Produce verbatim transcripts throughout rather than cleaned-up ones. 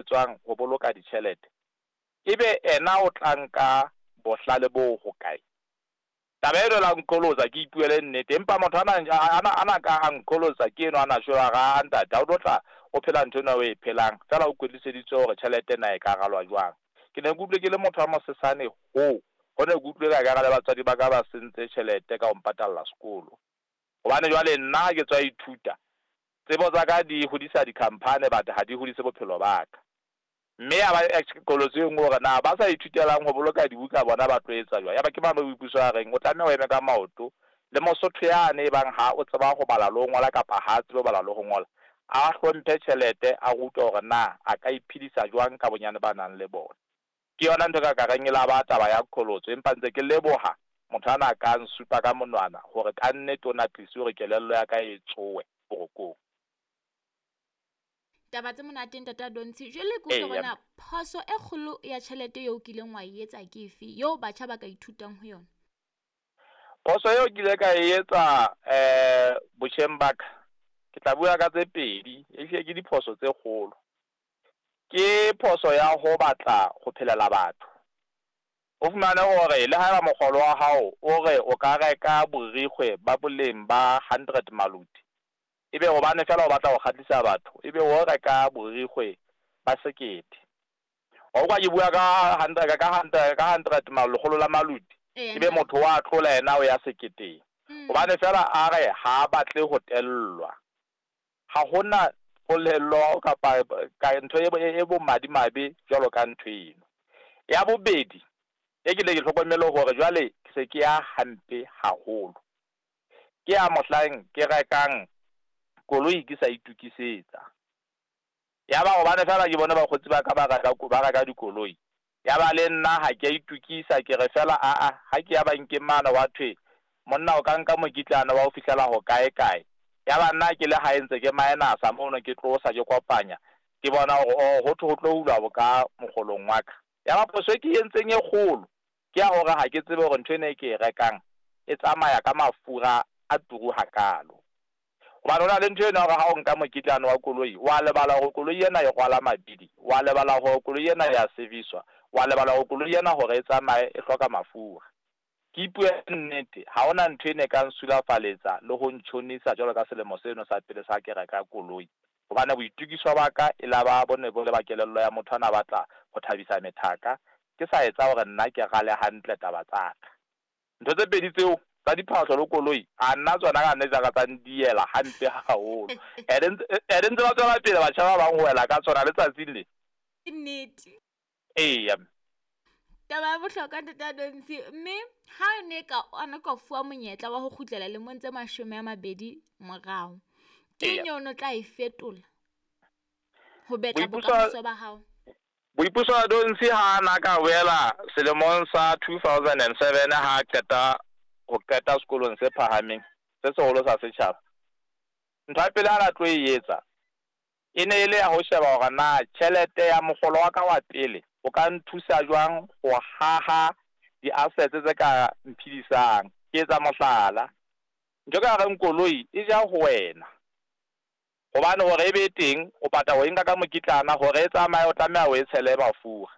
etswang ho boloka ditjhelete, ebe ena o tla nka bohlale bo hokae? Taba eno la nqholotsa, ke ipuele nnete, empa motho ana ana ana ka a nqholotsa ke eno ana shwela ra ntate, ha o tlo tla o phela ntho ena o e phelang fela o kwetliseditswe hore tjhelete na e ka ralwa jwang. Ke ne ke utlwe ke le motho wa mosesane ho ho ne ke utlwe ka ekare le batswadi ba ka ba sentse tjhelete ka ho mpatalla sekolo. Hobane jwale nna ha ke tswa ithuta, tsebo tsa ka di hodisa di-company but ha di hodise bophelo ba ka. Mme ya ba qholotso e nngwe hore na ba sa ithutelang ho boloka dibuka bona ba tlo etsa jwang. Ya ba ke mane Boipuso a reng o tlameha o eme ka maoto le Mosotho yane e bang ha o tseba ho bala le ho ngola kapa ha tsebe ho bala le ho ngola, a hlomphe tjhelete, a rutwe hore na a ka iphedisa jwang ka bonyane ba nang le bona. Ke yona ntho e ka ka reng e la ba taba ya qholotso, empa ntse ke leboha motho ana ka nsupa ka monwana hore kannete o na tlise hore kelello ya ka e tsowe borokong. Taba tse monate ntate Adontshi. Jwale ke utlwe hore na phoso e kgolo ya tjhelete eo o kileng wa e etsa ke efe eo batjha ba ka ithutang ho yona? Phoso eo ke ile ka e etsa eh botjheng ba ka, ke tla bua ka tse pedi, ehlile ke diphoso tse kgolo. Ke phoso ya ho batla ho phelela batho. O fumane hore le haeba mokgolo wa hao o re o ka reka borikgwe ba boleng ba hundred maluti, ebe hobane fela o batla ho kgahlisa batho, ebe o reka borikgwe ba sekete. Wa utlwa ke bua ka hundred ka hundred ka hundred lekgolo la maluti, ebe motho wa tlola yena o ya seketeng. Hobane fela a re ha batle ho tellwa. Ha hona polelo kapa ka ntho e bo madimabe jwalo ka ntho eno. Ya bobedi e ke le ke hlokomele hore jwale ke se ke ya hampe haholo, ke ya mohlang ke rekang koloi ke sa itukisetsa. Ya ba hobane fela ke bone bakgotsi ba ka ba reka ba reka dikoloi, ya ba le nna ha ke a itukisa, ke re fela a a ha ke ya bankeng mane wa thwe monna o ka nka mokitlana wa ho fihlela ho kae kae. Ya ba nna ke le hae ntse ke minus-a mono, ke tlosa ke kopanya, ke bona hore oh ho thwe ho tlo hulwa boka mokgolong wa ka. Ya ba phoso e ke entseng e kgolo ke ya hore ha ke tsebe hore ntho ena e ke e rekang e tsamaya ka mafura a turu hakalo. Hobane ho na le ntho eno ya hore ha o nka mokitlane wa koloi, wa lebala hore koloi ena e rwala mabidi, wa lebala hore koloi ena ya service-wa, wa lebala hore koloi ena hore e tsamaye e hloka mafura. Ke ipue nnete, ha hona ntho ene e ka nsulafaletsa le ho ntjhonisa jwalo ka selemo seno sa pele sa ke reka koloi. Hobane boitukiso ba ka e la ba bone bo le ba kelello ya motho ana batla ho thabisa methaka, ke sa etsa hore nna ke rale hantle taba tsa ka. Ntho tse pedi tseo tsa diphahlo le koloi, a nna tsona ka nnete ka tsa ndiela hampe haholo. Ene ntse ba tswela pele batjha ba bang ho wela ka tsona letsatsing le. Ke nnete. Eya. Taba ya bohlokwa ntate Adontshi, mme ha ne ka ana ka fuwa monyetla wa ho kgutlela lemong tse mashome a mabedi morao, ke eng eo o tla e fetola ho betla bokamoso ba hao? Boipuso Adontshi ha na ka boela selemong sa two thousand and seven ha qeta ho qeta sekolong se phahameng se seholo sa setjhaba. Ntho ya pele a na tlo e etsa e ne e le ya ho sheba hore na tjhelete ya mokgolo wa ka wa pele o ka nthusa jwang ho haha di-assets tse ka mphedisang. Ke etsa mohlala, ntho ka reng koloi e ja ho wena, hobane hore e be teng o patala ho e nka ka mokitlana, hore e tsamaye o tlameha o e tshele mafura.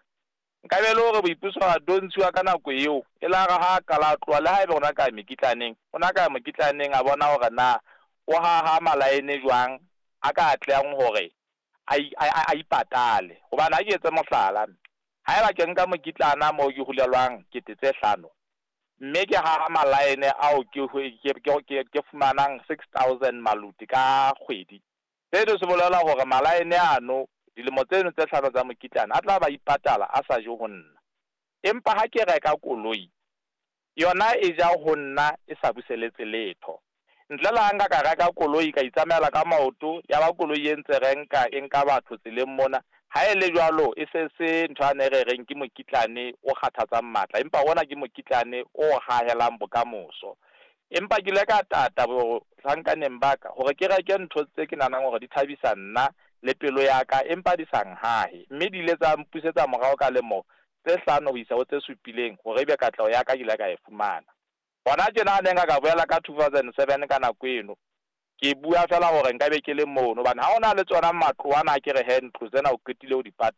Nka be le hore Boipuso Adontshi wa ka nako eo e la re ha qala tloha le haebe ona ka mekitlaneng, ona ka mokitlaneng a bona hore na o haha malaene jwang a ka atlehang hore a a ipatale. Hobane ha ke etse mohlala, haeba ke nka mokitlana moo ke hulelwang kete tse hlano, mme ke haha malaene ao ke ke ke fumanang six thousand maluti ka kgwedi, seno se bolela hore malaene ano dilemo tseno tse hlano tsa mokitlana a tla ba ipatala a sa je ho nna. Empa ha ke reka koloi, yona e ja ho nna e sa buseletse letho. Ntle le ha nka ka reka koloi ka itsamaela ka maoto, ya ba koloi e ntse renka e nka batho tseleng mona, ha e le jwalo e se se ntho ane re reng ke mokitlane o kgathatsang matla, empa ona ke mokitlane o hahelang bokamoso. Empa ke ile ka tata bohlankaneng ba ka hore ke reke ntho tse ke nahanang hore di thabisa nna le pelo ya ka, empa di sa nhahe, mme di ile tsa mpusetsa morao ka lemo tse hlano ho isa ho tse supileng hore ebe katleho ya ka ke ile ka e fumana. Hona tjena ha ne nka ka boela ka two thousand seven ka nako eno, ke bua fela hore nka be ke le mono, hobane ha hona le tsona matlo ana ke re he ntlo tsena o qetile ho di patala.